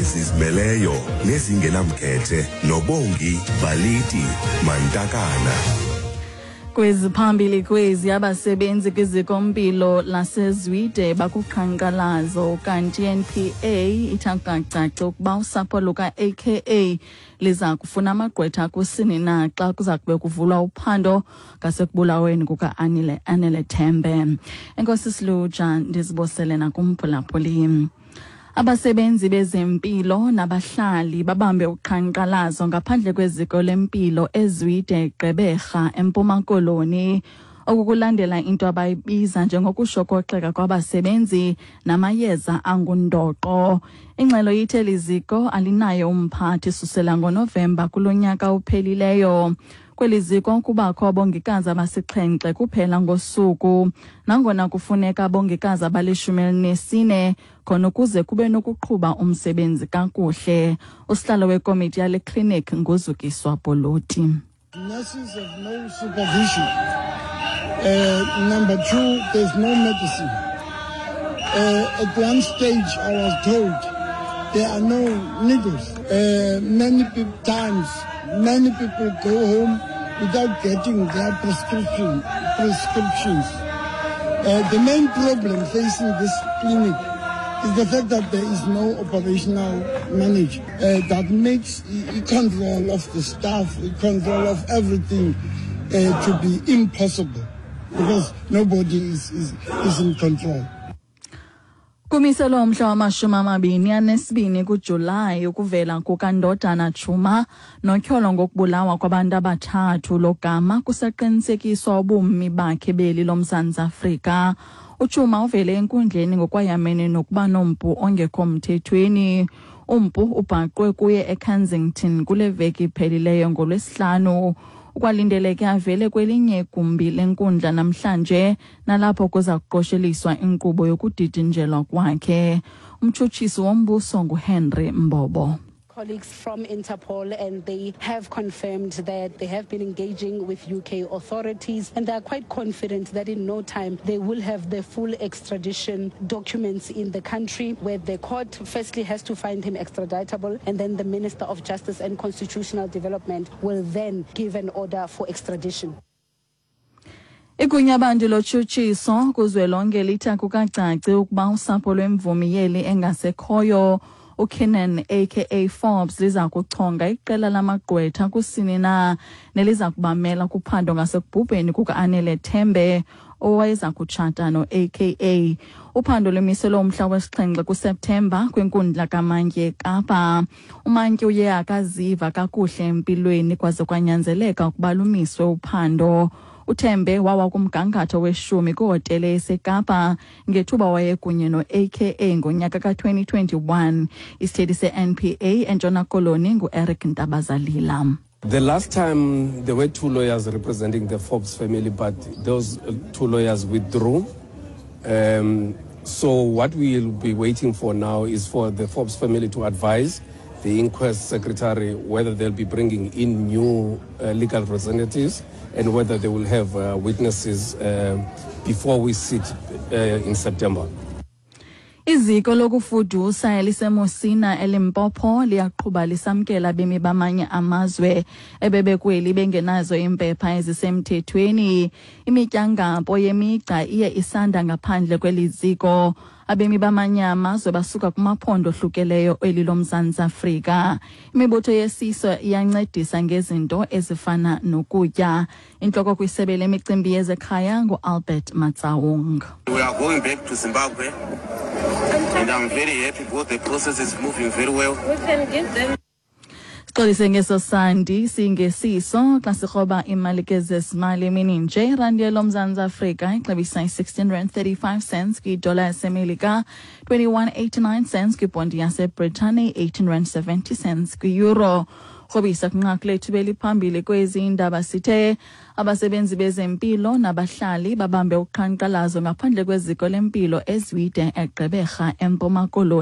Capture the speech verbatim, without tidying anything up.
Ezizimeleyo nezingenamkhethe noBongi Baliti Mantakana. Kweziphambili kwezi, abasebenzi kwizikompilo laseZwide bakuqhankqalazo, kanti i-N P A ithi akukacaci ukuba usapho luka-A K A liza kufuna amagqwetha kusini na xa kuza kube kuvulwa uphando ngasekubulaweni kuka-Anele Anele Tembe. Enkosi Siluja, ndizibosele nakumphulaphuli. Abasebenzi bezempilo nabahlali babambe uqhankqalazo ngaphandle kweziko lempilo eZwide, Gqeberha, eMpuma Koloni. Oku kulandela into abayibiza njengokushokoxeka kwabasebenzi namayeza angundoqo. Ingxelo ithe liziko alinaye umphathi susela ngoNovemba kulo nyaka uphelileyo. Kweli ziko kubakho abongikazi abasixhenxe kuphela ngosuku, nangona kufuneka abongikazi abalishumi elinesine khona ukuze kube nokuqhuba umsebenzi kakuhle. Usihlalo wekomiti yale klinik nguZukiswa Boloti. Nurses have no supervision. Uh, number two, there's no medicine. Uh, at one stage, I was told there are no needles. Uh, many pe- times, many people go home without getting their prescription, prescriptions. Uh, the main problem facing this clinic is the fact that there is no operational manager uh, that makes the control of the staff, the control of everything uh, to be impossible because nobody is, is, is in control. Kumiselwe umhla wamashumi amabini anesibini kuJulayi ukuvela kukaNdodana Tshuma notyholo ngokubulawa kwabantu abathathu, logama kusaqinisekiswa ubumi bakhe beli loMzantsi Afrika. UTshuma uvele enkundleni ngokwayamene nokuba nompu ongekho mthethweni. Umpu ubhaqwe kuye eKensington kule veki iphelileyo ngoLwesihlanu. Ukwalindeleke avele kwelinye igumbi lenkundla namhlanje, nalapho kuza kuqosheliswa inkqubo yokudidinjelwa kwakhe. Umtshutshisi wombuso nguHenry Mbobo. Colleagues from Interpol, and they have confirmed that they have been engaging with U K authorities and they are quite confident that in no time they will have the full extradition documents in the country, where the court firstly has to find him extraditable and then the Minister of Justice and Constitutional Development will then give an order for extradition. Igunyabantu lotshutshiso kuzwelonke lithi akukacaci ukuba usapho lwemvumi yeli engasekhoyo uKiernan A K A Forbes liza kuchonga iqela lamagqwetha kusini na neliza kubamela kuphando ngasekubhubheni kuka-Anele Tembe owayeza kutshata no-A K A. Uphando lumiselwe umhla wesixhenxe kuSeptemba kwinkundla kamantyi eKapa. Umantyi uye akaziva kakuhle empilweni kwaze kwanyanzeleka ukuba lumiswe uphando. UTembe wawa kumgangatho weshumi kwihotele eseKapa ngethuba wayekunye no-A K A ngonyaka ka-twenty twenty-one. Isithethi se-N P A eNtshona Koloni ngu-Eric Ntabazalila. The last time there were two lawyers representing the Forbes family, but those uh, two lawyers withdrew. Um, so what we'll be waiting for now is for the Forbes family to advise the inquest secretary whether they'll be bringing in new uh, legal representatives and whether they will have uh, witnesses uh, before we sit uh, in September. Iziko lokufudusa eliseMusina eLimpopo liyaqhuba lisamkela abemi bamanye amazwe ebebekweli bengenazo iimpepha ezisemthethweni. Imityangampo yemigca iye isanda ngaphandle kweli ziko. Abemi bamanye amazwe basuka kumaphondo ohlukeleyo eli loMzantsi Afrika. Imibutho yesiso iyancedisa ngezinto ezifana nokutya. Intloko kwisebe lemicimbi yezekhaya nguAlbert Matsaung. We are going back to Zimbabwe and I'm very happy because the process is moving very well. We can give them Sixolise ngeso sandi singesiso xa sikroba imali kezezimali emini nje. Irandi yeloMzantsi Afrika ixabisa i-sixteen rand thirty-five cents kwidola yaseMelika, twenty-one eighty-nine cents kwibhondi yaseBritane, eighteen rand seventy cents kwi-euro. Krobisa kwinqaku lethu beliphambili kwezi indaba, sithe abasebenzi bezempilo nabahlali babambe uqhankqalazo ngaphandle kweziko lempilo eZwide eGqeberha eMpuma Koloni.